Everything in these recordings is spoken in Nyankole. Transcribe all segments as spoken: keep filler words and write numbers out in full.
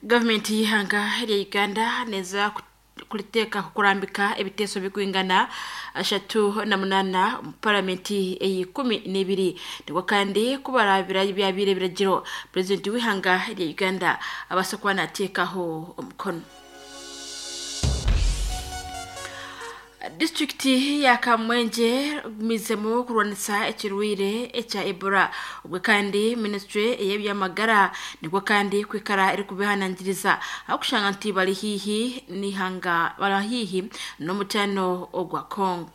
Gavumenti y'ihanga rya Uganda neza kuliteeka kukurambika ebiteeso bikwingana ashatu na munana mu paramenti ey'ikumi n'ebiri nibwo kandi kubarabira byabire ebiragiro purezidenti w'ihanga rya Uganda abasa kuba nateekaho omukono. Disitulikiti ya Kamwengye gumizemu kurwanisa ekirwaire ekya Ebola obwe kandi minisitule ey'ebyamagara nibwo kandi kwikara erikubihanangiriza ahakushanga nti bari haihi n'ihanga bari haihi n'omutaano ogwa Congo.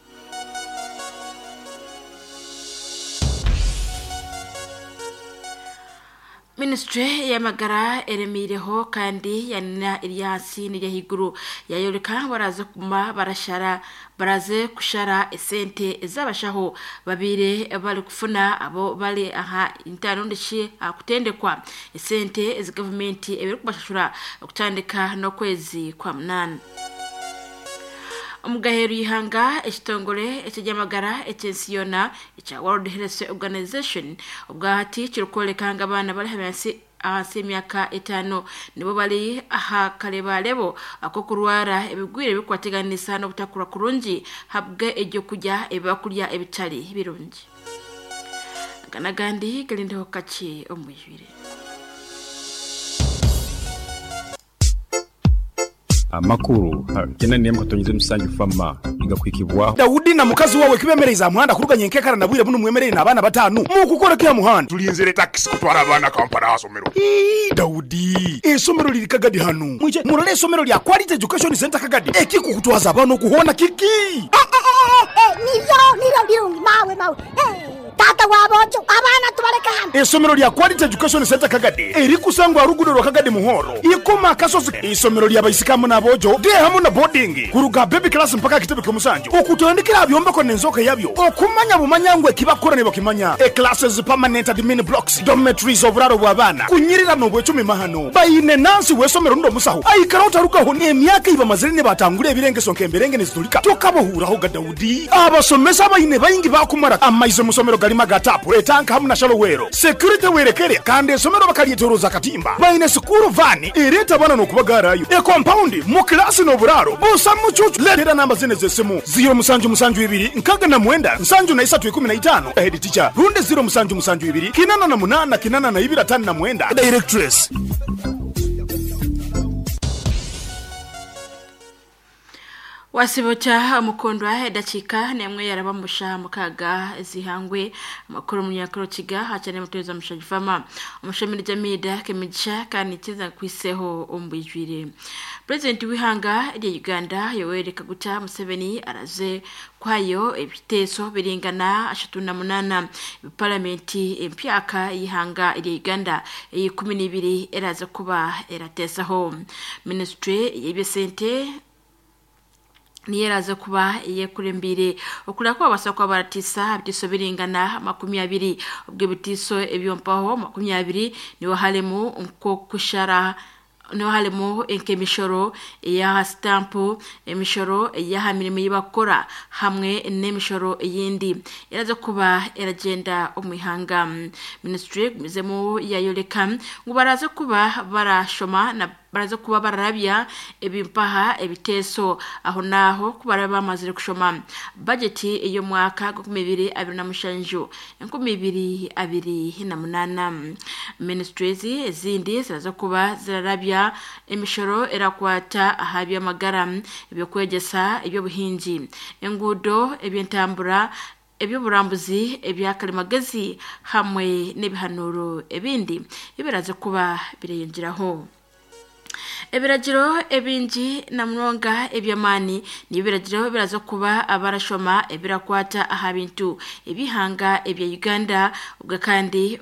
Minisitule y'amagara eremiireho kandi yanina eri ahansi n'eri ahaiguru yayoreka baraze kuguma barashara baraze kushara esente ez'abashaho babiire barikufuna abo bari aha ntarondishi aha kutendekwa esente ezi gavumenti ebirikubashashura okutandika n'okwezi kwa munaana. Omugaheru y'ihanga ekitongore eky'ebyamagara eky'ensi yoona ekya World Health Organization obwahati kirikworeka ngu abaana bari ahansi ahansi y'emyaka etaano nibo bari aha karebarebo ak'okurwara ebigwire ebirikukwateganisa n'obutakura kurungi habwe ebyokurya ebi bakurya ebitari birungi. Aga n'agandi garindeho kakye omu bwijwire. Amakuru kena niye mukatonyeze musanju fama igakwikibwaho Daudi na mukazi wawe kibemereza muhanda kuruganye nkekara na bwire buno mwemerere n'abana batanu mukukora kya muhanda tulinzire taxi kutwara abana Kampala asomero. Ii, Daudi esomero liri Kagadi hanu mwije murole esomero lya Quality Education Center Kagadi ekikukutwaza abana okuhona kiki eh, eh, eh, nivyo nivyo birungi mawe mawe eh. Tata wabojo abana tubareka hano. Esomero lya Quality Education Center Kagadi erikusangwa rugudo rwa Kagadi Muhoro ikoma akasozi. Isomero lya baisikamu n'abojo de hamu na boarding kuruga baby class mpaka kitebe ky'omusanju okutandikira byombeko n'enzoka yabyo okumanya bumanyangwe kibakora ne bakimanya e classes permanent admin blocks dormitories oburaro bw'abaana kunyirira n'obwecumi mahano bayine nansi w'esomero ndo musaho aikara otarugaho n'emyaka iba mazire ne batangura ebirengeso nk'emberenge nezitulika tokabohuraho ga Daudi abasomesa bayine bayingi bakumara amaizo musomero galima gatapu etanka hamu na shalowero security werekere kandi esomero bakalyetoroza katimba bayine sukuru vani ereta bana n'okubagarayo e compound mu klasi n'oburaro busa mucucu letera namba zine z'esimu ziro musanju musanju ibiri nkaga na mwenda nsanju na isatu ikumi na itano head teacher runde ziro musanju musanju ibiri kinana na munana kinana na ibiri atanu na mwenda directress. Wasibocha mukondwa edakika nemwe yarabamusha mukaga zihangwe amakuru munyakaro kiga hachane mutuza mushajifama omushemiri jamida kemigisha kandi kiza kwiseho ombwijwire. President w'ihanga rya Uganda Yoweri Kaguta Museveni araze kwayo ebiteeso biringana ashatu na munana parliamenti empyaka y'ihanga rya Uganda ey'ikumi n'ibiri eraze kuba eratesaho. Ministry y'ebyesente niyeraze kuba yekurembire okula kwa basa kwa baratisa bitiso biringana makumi abiri ubwo bitiso ebyompaho makumi abiri niwo halemu nko kushara niwo halemu enkemishoro ya stamp emishoro ya mirimo yibakora hamwe n'emishoro yindi yaraze kuba eragenda omwihanga. Ministry gumizemu yayoleka ngo baraze kuba barashoma na baraze kuba bararabya ebimpaha ebiteso aho naho kubara bamazire kushoma budget iyo mwaka gukumi bibiri abiri na mushanju enkumi bibiri abiri na munana. Ministries ezindi ziraza kuba zirarabya emishoro erakwata ahabya magara ebyo kwegesa ebyo buhingi engudo ebyentambura ebyoburambuzi ebyakalimagezi hamwe n'ebihanuro ebindi ibiraze kuba bireyongeraho. Ebiragiro ebingi na munonga ebyamani n'ibiragiro biraza kuba abarashoma ebirakwata aha bintu ebihanga ebya Uganda ubwo kandi